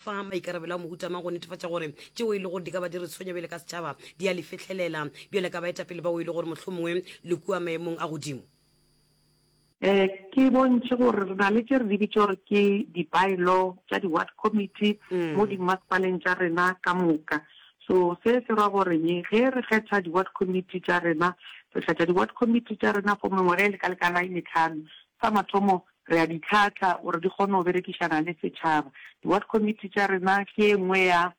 fa maikarabelo a mohuta mang go netefatša gore tšeo e le gore di ka ba di re tshwenya bjale ka setšhaba di a le fihlelela bjale ka baetapele bao e le gore mohlomongwe le kua maemong a godimo? Um ke bontšhe gore re na le tše re di bitša gore ke di-by-law tša di-ward committee mo dimmasepaleng tša rena ka moka. So se se ra goreng ge re kgetha di-ward committee tša rena, re kgetha di-ward committee tša rena for mengwaga e lekalekana e metlhano. Sa mathomo re a di tlhahla gore di kgone go berekišana le setšhaba. Di-ward committee tša rena ke e nngwe ya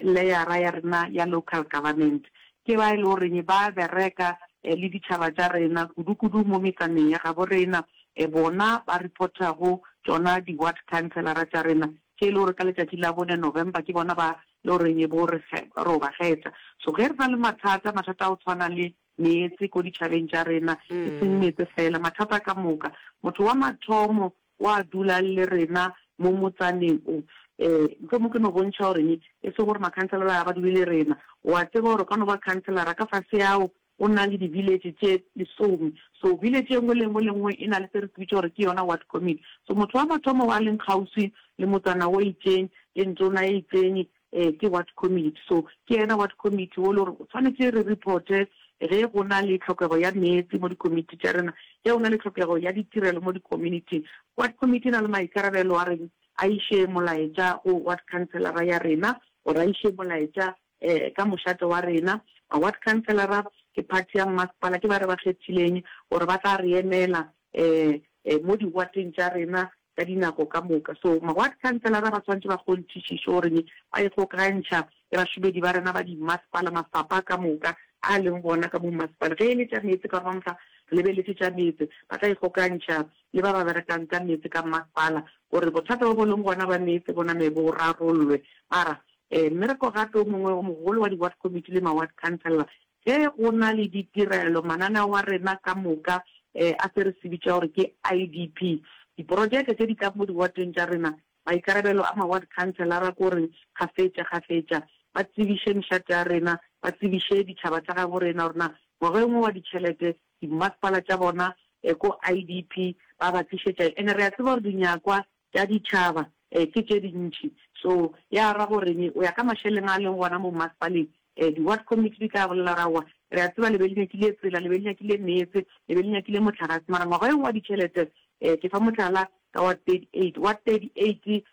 leyara ya rena ya local government. Ke ba e le goreng ba bereka le ditšhaba tša rena, kudu-kudu mo metsaneng ya gabo rena. Bona ba reporta go tšona di-ward councillor-a tša rena, tše e le gore ka letšatši la bone November ke bona ba le goreng bo re ro ba kgetha. So ge re na le mathata, mathata a go tshwana le meetse ko ditšhabeng tša rena, e seng meetse fela, mathata ka moka, motho wa mathomo wa dula le rena mo motsaneng o. Um mohlomong ke no bontšha gore e sego gore makhanselara ga ba dule le rena. O a tseba gore o ka no ba khanselara ka fase ao o na le di-village tše lesome. So village e nngwe le nngwe le nngwe e na le se re se bitša gore ke yona ward committee. So motho wa mathomo wa leng kgauswi le motsana o itšeng le ntona e itšeng Ee, ke ward committee. So ke yena ward committee wo le gore o tshwanetse re reporte ge go na le tlhokego ya meetse mo di-committee tša rena, ge go na le tlhokego ya ditirelo mo di-community-ing. Ward committee e na le maikarabelo a reng a iše molaetša go ward councillor-a ya rena gore a iše molaetša um ka mošate wa rena. Ma-ward councillor-a ke party ya mmasepala, ke ba re ba kgethileng gore ba tla re emela um mo di-ward-eng tša rena ka dinako ka moka. So ma-ward councillor-a ba swanetše ba kgonthišiše gore ba ikgokagantšha le bašomedi ba rena ba dimmasepala, mafapha ka moka a leng gona ka mo mmasepala. Ge e le tša meetse, ka gore mamohla re lebeletše tša meetse, ba tla ikgokantšha le ba ba berekang ka meetse ka mmasepala gore bothata bo bo leng gona ba meetse bo name bo rarollwe. Mara mmereko gape o mongwe o mogolo wa di-ward committee le ma-ward councillor Ge go na le ditirelo, mananeo a rena ka moka a se re se bitša gore ke IDP, diprojeke tše di tlang mo diwateng tša rena, maikarabelo a ma-ward councillor-a ke gore kgafetša kgafetša ba tsebiše mešate ya rena, ba tsebiše ditšhaba tša gabo rena gore na ngwageng wo wa ditšhelete dimmasepala tša bona ko IDP ba ba tlišetša eng. And-e re a tseba gore dinyakwa tša ditšhaba ke tše dintši. So ya ra gore o ya ka mašeleng a leng gona mo mmasepaleng, di-ward committee di tla bolela gore aowa, re a tseba le be le nyakile tsela, le be le nyakile meetse, le be le nyakile mohlagase, mara ngwaga eo wa ditšhelete, ke fa mohlala ka ward 38, ward 38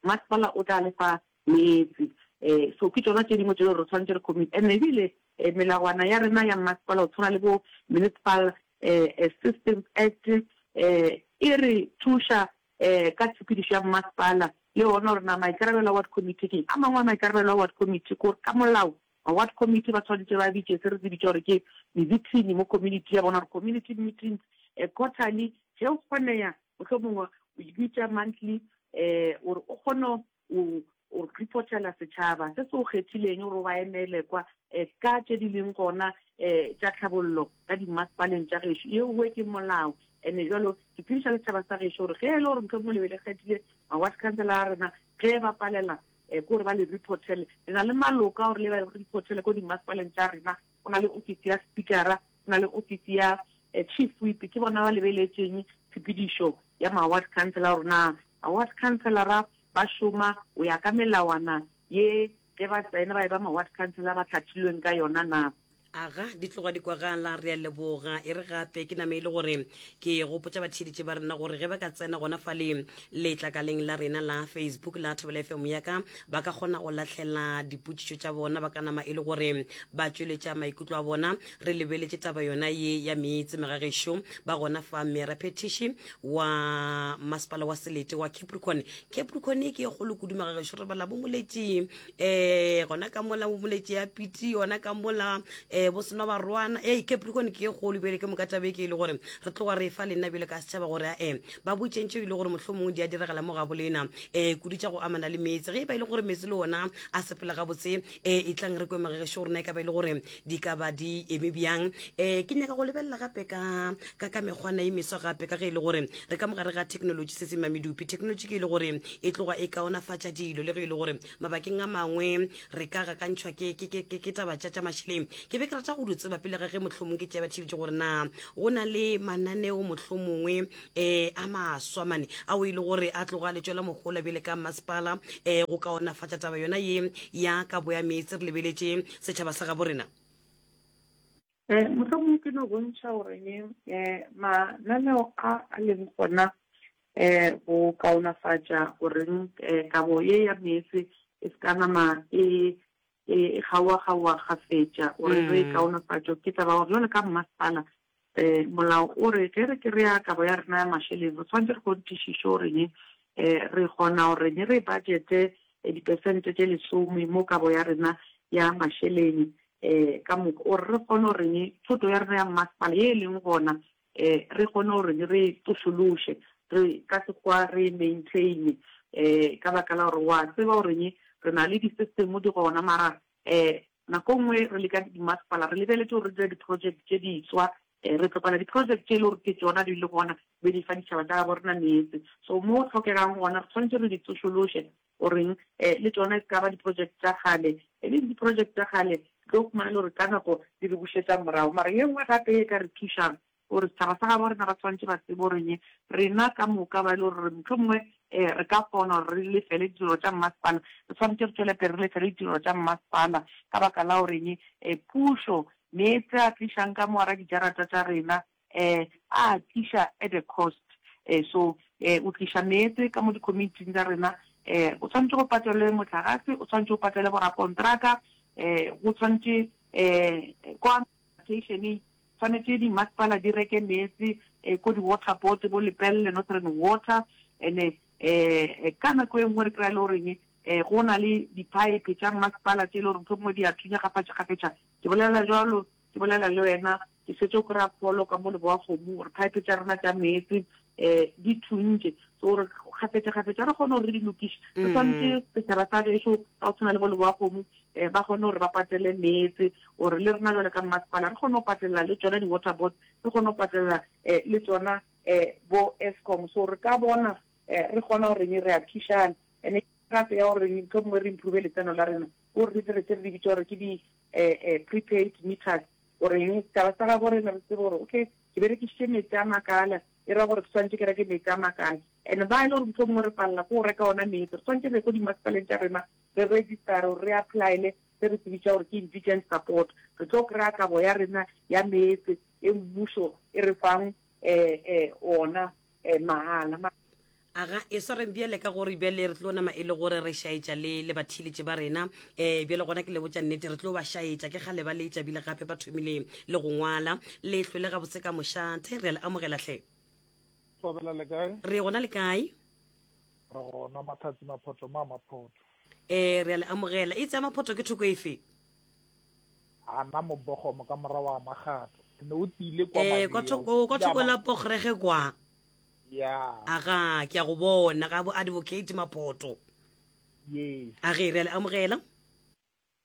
mmasepala o tla le fa meetse. So ke tšona tše dingwe tše e le gore re swanetše re commit. And ebile melawana ya rena ya mmasepala go tshwana le bo Municipal Systems Act e re thuša ka tshepedišo ya mmasepala le yona gore na maikarabelo a ward committee ke eng. A mangwe a maikarabelo a ward committee ke gore ka molao ma-ward committee ba swanetše ba bitše se re se bitša gore ke mebithini mo community ya bona gore community meetings quarterly ge o kgoneya mohlomongwe o e bitša monthly gore o kgone O, o reportela setšhaba se se o kgethileng gore o ba emele kwa ka tše di leng gona tša tlhabollo ka dimmasepaleng tša gešo. Yeowe ke molao. Ene bjalo ke tsebiša le setšhaba sa gešo gore ge e le gore mohlomongwe le be le kgethile ma-ward councillor a rena, ge ba palela ke gore ba le reportele. Le na le maloko a gore le ba reportele ko dimmasepaleng tša rena. Go na le ofisi ya speakera, go na le ofisi ya chief whip, ke bona ba lebeletšeng tshepedišo ya ma-ward councillor gore na ma-ward councillor ba šoma go ya ka melawana ye ge ba tsena ba eba ma-ward councillor ba hlathilweng ka yona na. Aga, di tloga di kwagala, re a leboga. E re gape ke name e le gore ke gopotša batheeletši ba rena gore ge ba ka tsena gona fa le letlakaleng la rena la Facebook la Thobela FM ya ka, ba ka kgona go lahlela dipotšišo tša bona, ba ka nama e le gore ba tšweletša maikutlo a bona. Re lebeletše taba yona ye ya meetse megagešo ba gona fa Mmeraphethiši wa masepala wa selete wa Capricorn. Capricorn e ke e kgolo kudu magagešo, re bala bo Moletši um gona ka mola bo Moletši ya Piti, gona ka mola um bo Senobarwana. Ei, Capricorn ke e kgolo bjale ke moka taba e ke e le gore re tloga re fa lenna bjale ka setšhaba gore ae ba botšeng tšeo e le gore mohlomongwe di a diragala mo gabo lena um kudu tša go amana le meetse. Ge e ba e le gore meetse le ona a sepela gabotse, um e tlang re kwe magagešo gore na e ka ba e le gore di ka ba di eme bjang. Um ke nyaka go lebelela gape ka ka ka mekgwana e meswa gape ka ge e le gore re ka mogare ga technology se se mamedupi. Technology ke e le gore e tloga e kaonafatša dilo le ge e le gore mabakeng a mangwe re ka gakantšhwa ke ke ke ke taba tša tša mašeleng. Ke be ke ke rata go di tseba pele ga ge mohlomong ke tšea batheeletši gore na go na le mananeo mohlomongwe um a maswa mane ao e le gore a tloga le tšwela mohola bjale ka masepala um go kaonafatša taba yona ye ya kabo ya meetse re lebeletše setšhaba sa gabo rena. Um mohlomongwe ke no bontšha goreng um mananeo a a leng gona um go kaonafatša goreng um kabo ye ya meetse e se ka nama e e kgaowa-kgaowa kgafetša gore re e kaonafatšo ke taba gore jwale ka mmasepala um molao o re ge re kry-a kabo ya rena ya mašeleng re tshwanetse re kgonthišiše goreng um re kgona goreng re budgete dipersente tše lesome mo kabo ya rena ya mašeleng um ka moka gore re kgone goreng thoto ya rena ya mmasepala ye e leng gona um re kgone gore re e tsošološe, re ka Sekgowa re e maintain um ka baka la gore wa tseba goreng re na le di-system di gona mara um nako nngwe re le ka dimasepala re lebeletše gore re dire di-project tše diswa um re tlogela di-project tše e le gore ke tšona di le gona be di fa ditšhaba tša gabo rena meetse. So mo go hlokegang gona re tshwanetše re di tsošološe goreng um le tšona e se ka ba di-project tša kgale, e le di-project tša kgale tlo fumana e le gore ka nako di re bušetša morago. Mara ye nngwe gape e ka re thušang gore setšhaba sa gabo rena ba tshwanetše ba tsebe goreng rena ka moka ba e le gore mohlomongwe um re ka kgona gore re lefele ditirelo tša mmasepala, re tshwanetše re tšwele pele re lefele ditirelo tša mmasepala ka baka la goreng um pušo meetse a tlišang ka mo gara dijarata tša rena eh a tliša at a cost eh so eh o tliša meetse ka mo di-community-ing tša rena eh o tshwanetše go patelwe mohlagase o tshwanetše o patele borakontraka eh go tshwanetše eh kwa station tshwanetše dimasepala di reke meetse eh ko di-water board bo Lepelle Northern Water and eh ka nako e nngwe re kry-a le goreng eh go na le di-pipe tša mmasepala tše e le gore mohlomongwe di a thunya kgafetša-kgafetša ke bolela jalo Ke bolela le wena, ke šetše o kry-a pholo ka mo Leboakgomo gore pipe tša rena tša meetse um di thuntše. So gore kgafetša-kgafetša re kgone gore re di lokiše, re swanetše setšhaba sa gešo ka go tshwana le bo Leboakgomo um ba kgone gore ba patele meetse gore le rena jwale ka mmasepala re kgone go patelela le tšona di-water boards, re kgone go patelela um le tšona um bo Eskom. So re ka bona um re kgona gore re a thušana. And-e gape ya gore mohlomongwe re improve letseno la rena, ke gore re dire tše re di bitša gore ke di prepaid meters, goreng setšhaba sa gabo rena re tsebe gore okay ke berekišitše meetse a makala, e ra gore ke swanetše ke reke meetse a makala. And ba e le gore mohlomongwe re palela ke go reka ona meetse, re swanetše re ye ko dimasepaleng tša rena re register-e gore re apply-ele se re se bitša gore ke indigent support, re tlo kry-a kabo ya rena ya meetse e mmušo e re fang ona mahala. Aga, e swareng bjale ka gore bjale re tlo nama e le gore re šaetša le le batheeletši ba rena. Um bjale gona ke le botša nnete, re tlo ba šaetša. Ke kgale ba letša bile gape ba thomile le go ngwala. Le hlwele gabotse ka mošate. Re a le amogela hle. Thobela le kae? Re gona le kae? Re gona Matlhatsi Maphoto ma Maphoto. Eh re a le amogela. E tsaya Maphoto ke thoko efe? Ana mobogomo ka morago wa Makgato. Ne o tile kwa Eh kwa thoko kwa thoko la Pogrege kwa. Yeah. Aga, ke a go bona ga bo advocate Maphoto. Yes. A ge re a le amogela.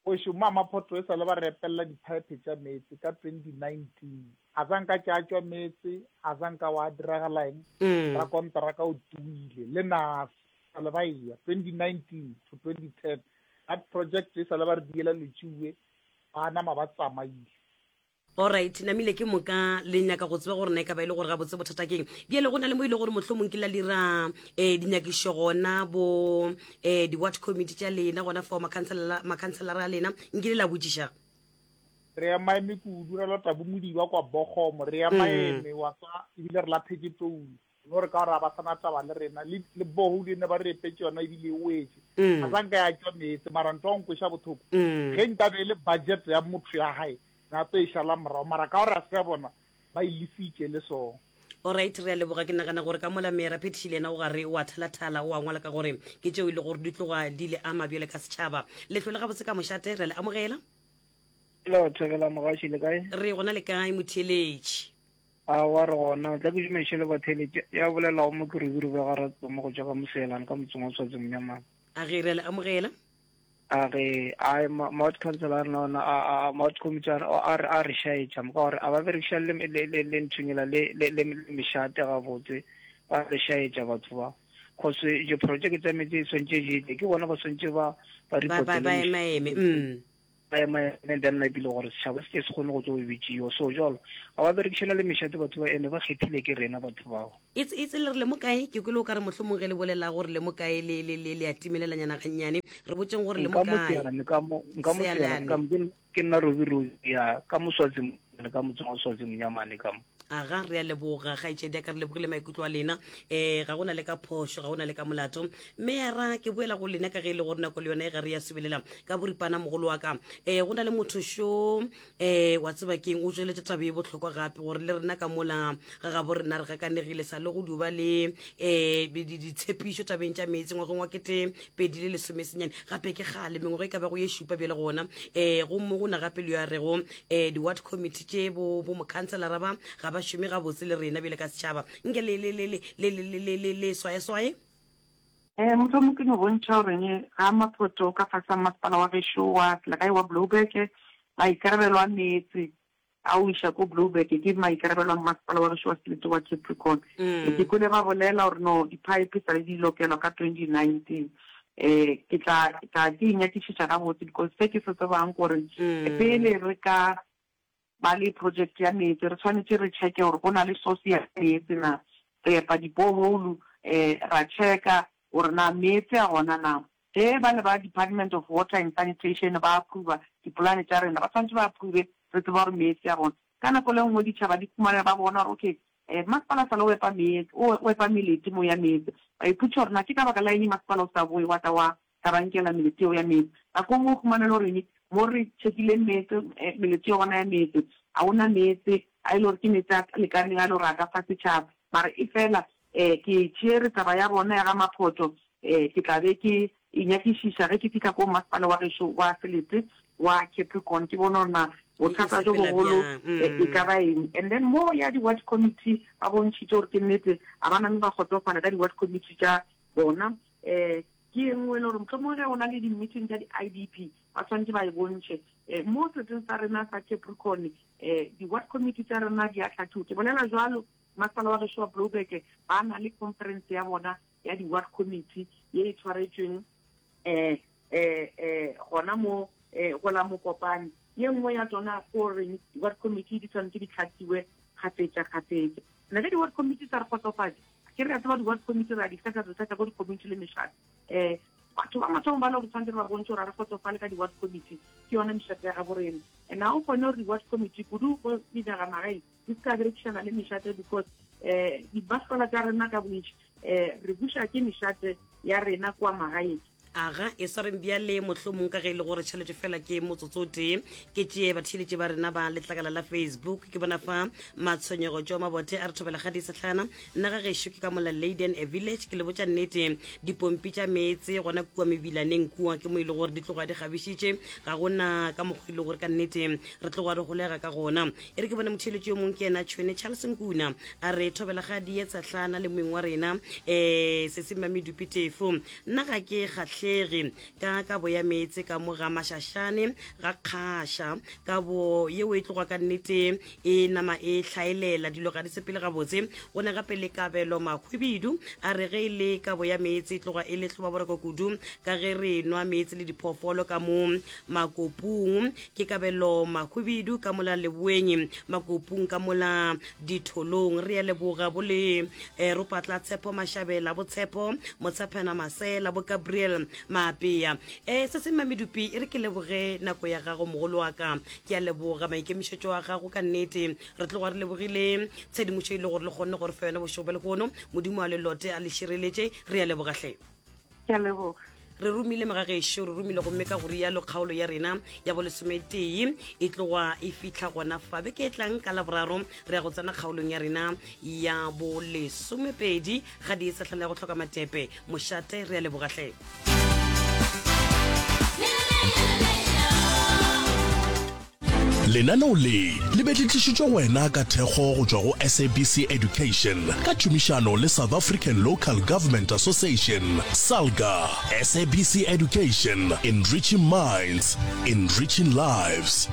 Ošo ma Maphoto e sa le ba re epelela diphaephe tša meetse ka 2019. A sa nka tša tšwa meetse, a sa nka wa diragala eng. Mm. Rakonteraka o tuile le na sa le ba eya 2019 to 2010. That project e sa le ba re diela letšuwe ba nama ba tsamaile. Alright, namile ke moka le nyaka go tseba gore na e ka ba e le gore gabotse bothata keng. Bjale go na le mo e le gore mohlomong ke la dira um dinyakišo gona bo um di-ward committee tša lena gona fao makhanselara a lena nkile la botšiša. Re emaeme kudu ra lota bomodiba kwa Bogomo, re emaeme wa tswa ebile re latlhetše toulo. No re ka gore a ba sana taba le rena le le borehole ne ba re epetše yona ebile e wetše mm. a sa nka ya tšwa meetse mara ntho wa nkweša bothoko mm. ge nka be e le budget ya motho ya gae na tlo e šala morago mara ka gore a se ya bona ba e lesitše le song Alright, re a leboga. Ke nagana gore ka mola mera Phetiši le yena o gare o a thalathala, o a ngwala ka gore ke tšeo e le gore di tloga di le ama bjale ka setšhaba. Lehlole gabotse ka mošate, re a le amogela. Hello, Thobela Mogaši, le kae? Re gona le kae motheeletši? Aowa re gona, tla ke dumeše le batheeletši ya bolelago mo ke Rubirube ga Ratsomo go tšwa ka Moseelane ka motseng wa Tshwatse Monyamane. A ge re a le amogela. A ge ai ma-ward council a rena ona a ma-ward committee a re a re šaetša mo ka gore a ba berekiša le le le le nthonyela le le le mešate gabotse ba re šaetša batho ba cause diprojeke tsa meetse e swantše di tle ke bona ba swantše ba ba Ba ba reportele ba emaeme. Mm. Ba ema and then napile gore setšhaba se ke se kgone go tlo bitšiwa. So jalo ga ba berekišana le mešate batho ba ene ba kgethile ke rena batho bao. It's it's le re le mo kae? Ke kwele o ka re mohlomong ge le bolela gore le mo kae le le le le a timelelanyana gannyane. Re botšeng gore le mo Nka mo kae. Sealane ka mo nka mo Sealane Sealane. ka mo ke ke nna Robi Robi ya ka mo Swazi ka motseng wa Swazi Mnyamane ka mo. Aga, re a leboga, kgaetšedi ya ka, re lebogile maikutlo a lena. Um ga go na le ka phošo, ga go na le ka molato. Meyara, ke boela go lena ka ge e le gore nako le yona e ga re ya subelela ka boripana mogolo wa ka. Um go na le motho šo um wa tseba keng, o tšweletša taba e bohlokwa gape gore le rena ka mola ga gabo rena re gakanegile sa le go duba le um ditshepišo tabeng tša meetse ngwageng wa 2019 gape ke kgale mengwaga e ka bago ye šupa bjale gona um gomme go na gape le yo a rego um di-ward committee tše bo bo mokhanselara ba ga ba šome gabotse le rena bjale ka setšhaba nke le le le le le le le le le swayeswaye. Um mohlomong ke no bontšha goreng ga Maphoto ka fase ga masepala wa gešo wa selegae wa Blouberg maikarabelo a meetse a o iša ko Blouberg ke maikarabelo a masepala wa gešo wa selete wa Capricorn. Ke kwele ba bolela gore no di-pipe sa le di lokelwa ka 2019. Um ke tla tla ke e nyakišiša gabotse because se ke se tsebang gore pele re ka ba le project ya meetse re tshwanetše re checke gore go na le source ya meetse na. Re epa di-borehole um ra checka gore na meetse a gona na. Ge ba le ba Department of Water and Sanitation ba approva dipolane tša rena ba tshwanetše ba approve re tseba gore meetse a gona. Ka nako le nngwe ditšhaba di khumana ba bona gore okay masepala sa le o epa meetse o epa melete mo ya meetse ba ipotšiša gore na ke ka baka la eng masepala o sa boe wa tla wa tla ba nkela melete yeo ya meetse. Nako nngwe o khumana e le gore mo re checkileng meetse melete yeo gona ya meetse ga go na meetse a e le gore ke meetse a lekaneng a e le gore a ka fa setšhaba mara e fela ke tšere taba ya bona ya ga Maphoto ke tla be ke e nyakišiša ge ke fihla ko masepala wa gešo wa selete wa Capricorn ke bone gore na bothata jo bogolo e ka ba eng. And then mo ya di-ward committee ba bontšhitše gore ke nnete ga ba name ba kgotsofala ka di-ward committee tša bona. Ke e nngwe e le gore mohlomongwe ge go na le di-meeting tša di-I_D_P ba swanetše ba e bontšhe. Mo seleteng sa rena sa Capricorn di-ward committee tša rena di a hlathiwa. Ke bolela jwalo masepala wa gešo wa Blouberg ba na le conference ya bona ya di-ward committee ye e tshwaretšweng um um gona mo um go la Mokopane. Ye nngwe ya tsona ke goreng di-ward committee di tshwanetse di tlhatsiwe kgafetša-kgafetša. And ge di-ward committee sa re kgotsofatše, ke re a tseba di-ward committee re a di kgetha, re kgetha ko di-community le mešate. Um batho ba mathomo ba le gore tshwanetse re ba bontšhe gore ga re kgotsofale ka di-ward committee, ke yona mešate ya gabo rena. And ga o kgone gore di-ward committee kudu go dinagamagaeng di se ka berekišana le mešate because um dimasepala tša rena ka bontši um re buša ke mešate ya rena kua magaeng. Aga, e swareng bjale, mohlomong ka ge e le gore tšhelete fela ke motsotso o tee, ke tšee batheeletši ba rena ba letlakala la Facebook. Ke bona fa Matshwenyego tšo Mabote a re thobela ga di sehlana. Nna ga gešo ke ka mola Leyden Village, ke le botša nnete, dipompi tša meetse gona kua mebilaneng kua ke mo e le gore di tloga di kgabišitše, ga gona ka mokgwa e le gore ka nnete re tloga re holega ka gona. E re ke bone motheeletši yo mongwe ke yena Tšhwene Charles Nkuna a re thobela ga di ye tshehlana le moeng wa rena um Sesi Mmamedupi Tefo. Nna ga ke kgahlege ka kabo ya meetse ka mo ga Mašašane ga Kgaša. Kabo yeo e tloga ka nnete e nama e hlaelela, dilo ga di sepele gabotse. Go ne gape le Kabelo Mahwibidu a re ge e le kabo ya meetse e tloga e le hlobaboroko kudu ka ge re nwa meetse le diphoofolo ka mo Makopung. Ke Kabelo Mahwibidu ka mola Leboeng, Makopung ka mola Ditholong. Re a leboga bo le eh, Ropatla Tshepo Mashabela, bo Tshepo Motshephena Masela, bo Gabriel Maapea. Eh, se se Mmamedupi, e re ke leboge nako ya gago mogolo wa ka. Ke a leboga maikemišetšo a gago ka nnete. Re tloga re lebogile tshedimošo e le gore le kgonne gore fe yona bošego bja lehono. Modimo a le lote a le šireletše. Re a leboga hle. Ke a leboga. Re romile mogagešo, re romile gomme ka go rialo kgaolo ya rena ya bolesometee e tloga e fihla gona fa. Beke e tlang ka Laboraro re ya go tsena kgaolong ya rena ya bolesomepedi ga di e sehlana ya go hloka matepe. Mošate, re a leboga hle. Lenaneo le le be le tlišitšwe go wena ka thekgo go tšwa go SABC Education ka tšhomišano le South African Local Government Association, SALGA. SABC Education, enriching minds, enriching lives.